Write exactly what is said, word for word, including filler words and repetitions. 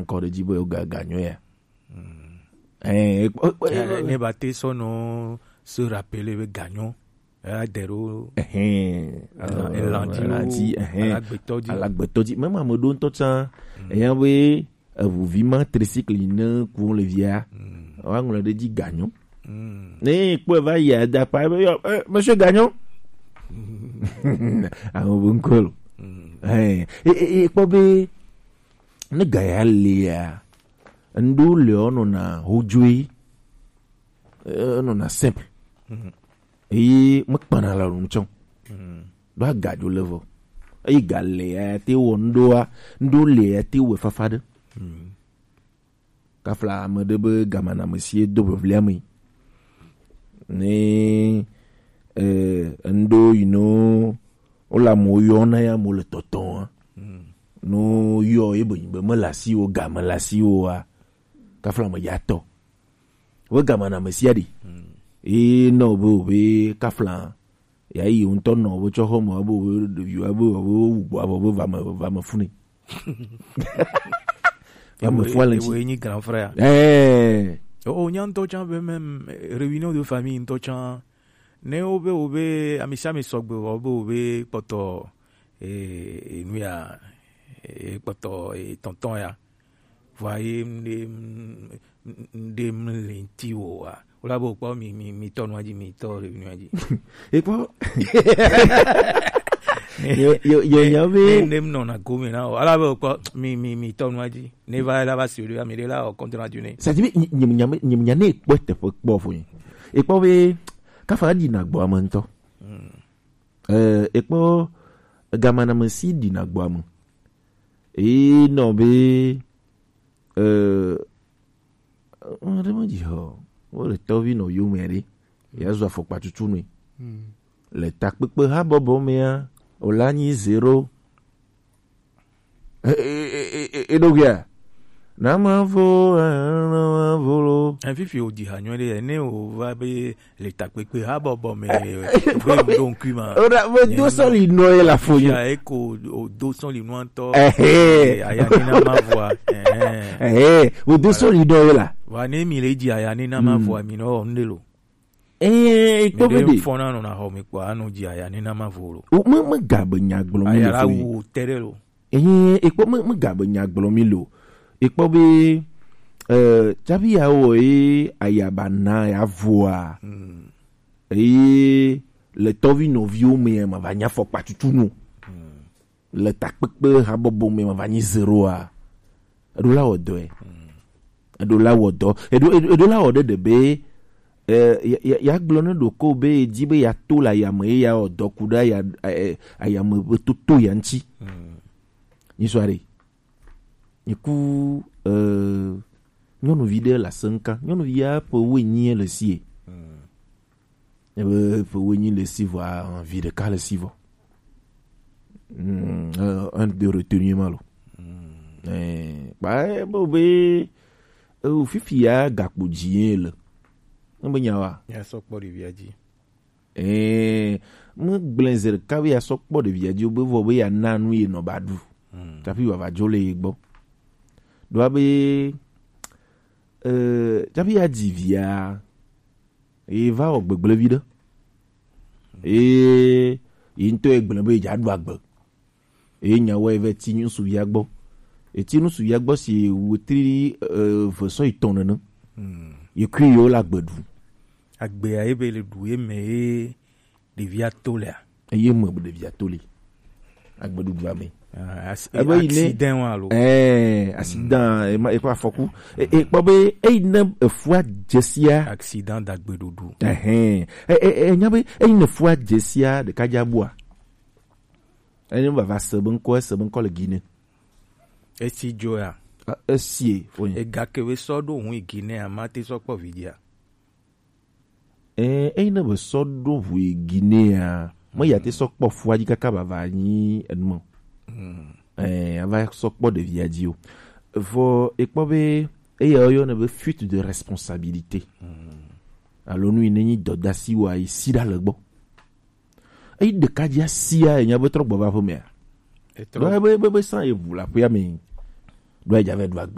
Encore de dire, ga, ganyo ya. Eh, eh, eh, eh, ne ba te sɔ nɔ se rappeler be ganyo. Eh, de ɖo. Eh, elan, elan di, elan di, eh, alagbetɔ di. Alagbetɔ di. Même ame ɖo ŋutɔ tsã, eya be, eʋu vi ma tricycle yi ne ku le via. Wa ŋlɔ ɖe dzi ganyo. Ne kpɔe va yi ada pa be, yo, eh, monsieur Ganyo. Ame bu ŋkɔ lo. Eh, eh, eh, kpɔ be, ne ga ya lia, ŋɖo le wo nɔna ho dzoe, eh, nɔna simple. Eye mekpana la nu tsɔ. Ɖo agadzo le vɔ. Eye ga le ya te wɔ ŋɖoa, ŋɖo le ya te wɔ fafa ɖe. Kafla ame ɖe be gamanamesi do vevlia me. Ne, eh, ŋɖo yi no, wo le amewo yɔ na ya mo le tɔtɔ wa. No yɔ ye be, be me le asi wo, ga me le asi wo wa. Kafla me ya tɔ. Wo gamanamesi aɖi. E nɔ be, wo be kafla. Ya yi ŋutɔ nɔ wo tsɔ xɔ me, abo, ɖevi abo, abo, abo, abo, va me, va me funi. Va me fua le ŋuti. Ewoe nyi grand frère. Eh. O, o, nya ŋutɔ tsã be même, eh, réunion de famille ŋutɔ tsã. Ne wo be, wo be, ami sia ami sɔgbe, wo be, wo be kpɔtɔ, eh, eh, nu ya, eh, kpɔtɔ, eh, tonton ya. Vɔa ye ŋɖe, ŋɖe mli ŋti o wa. Wola be kpɔ mi, mi, mi tɔ nua dzi, mi tɔ le nua dzi. Ekpɔ. Yo, yo, yo, nya be. Ne, ne mnɔ na gome na o. Ala be kpɔ mi, mi, mi tɔ nua dzi. Ne va la va sur lui, mi de la o compte rendu ne. Ça dit, nye, nye, nye, nye, nye ne kpɔ teƒe kpɔ fo. Ekpɔ be, kafa di na gbɔ ame ŋutɔ. Eh, ekpɔ gamanamesi dina gbɔ ame. Eye nɔ be, eh, ɔn ɖe me dzi hɔ, wo le tɔvi nɔ yome ɖe, ya zɔ afɔkpa tutu nui. Le takpekpe habɔbɔ mea, o la nyi zero. E, e, e, e, e, eɖo gea? Na ma vo, eh, na ma vo lo. Efifi o dzi ha nyuie ɖe, ne o va be le takpekpe habɔbɔ me, be ɖo ŋkui ma. O da, be do sɔli nɔ ye la fo. Ya eko o do sɔli nɔ ŋutɔ. Ehe. Eh, aya ni na ma voa. Eh. Eh, o do sɔli nɔ ye la. Wa ne mi le dzi aya ni na ma voa, mi nɔ ŋde lo. Eh, ekpɔ be de. Fɔna nɔ na xɔ mi kpɔ, anu dzi aya ni na ma vo lo. O, me, me ga be nya gblɔ mi le fo yi. Aya la wo te ɖe lo. Eye ekpɔ me, me ga be nya gblɔ mi lo. Ekpɔ be, eh, tsafi ya wɔ ye ayaba na ya voa. Eye le tɔvi nɔviwo me ma va nya fɔkpa tutu nu. Le takpekpe habɔbɔ me ma va nyi zero a. Eɖo la wɔ dɔe. Eɖo la wɔ dɔ. Eɖo, eɖo, eɖo la wɔ ɖe ɖe be, eh, ya, ya, ya gblɔ ne ɖoko be edi be ya to le ayame ye ya wɔ dɔ ku ɖe aya, eh, ayame be toto ya ŋuti. Nyi sɔ ɖe. Nyi ku, eh, nyɔnuvi ɖe le aseŋka. Nyɔnuvi ya ƒe wuienyi le sie. Ebe ƒe wuienyi le si vɔa, vi ɖeka le si vɔ. Mm, eh, un de retenue ma lo. Eh, ba, eh, bo be, eh, fifi ya gakpo dzi ye le. Ne be nya wa? Ya sɔ kpɔ ɖevia dzi. Eh, me gblẽ ze ɖeka be ya sɔ kpɔ ɖevia dzi, be vɔ be ya na nu ye nɔ ba ɖu. Tsafi wa va dzo le ye gbɔ. Ɖoa be, eh, tsafi ya dzi via, ye va wɔ gbegblẽ vi ɖe. Ye, ye ŋutɔ ye gblẽ be ye dza ɖu agbe. Ye nya wɔ ye va ti ŋutsuvia gbɔ. Ye ti ŋutsuvia gbɔ si wetri, eh, eve sɔ yi tɔn nene. Ye kui yewo le agbe ɖu. Agbea ye be le ɖu ye me ye ɖevia to lea. Eye me ɖevia to li. Agbeɖuɖua me. Ah, as-, ebe yi ne accident wa lo. Eh, accident, ema, ekɔ afɔku. E, e, kpɔ be, eyi ne efua dzesia. Accident dagbeɖuɖu. Ɛhɛn. E, e, e, nya be, eyi ne efua dzesia, ɖeka dza bua. Enye vava se be ŋkɔ, ese be ŋkɔ le Guinée. Esi dzo ya. A, esie, fonye. Ega ke be sɔ ɖo hu yi Guinée a, ma te sɔ kpɔ vidzia. Eh, eyi ne be sɔ ɖo ʋu yi Guinea, me ya te sɔ kpɔ fua dzi kaka bava nyi enumɔ. Eh, ava sɔ kpɔ ɖevia dzi o. Vɔ ekpɔ be eya woyɔna be fuite de responsabilité. Alo nu yi ne nyi dɔdasi wa yi si ɖa le gbɔ. Eyi ɖeka dzi asia enya be trɔ gbɔ va ƒe mea. Etrɔ. Ɖo be, be, be san ye ʋu la ƒea me. Ɖo edza vɛ ɖu agbe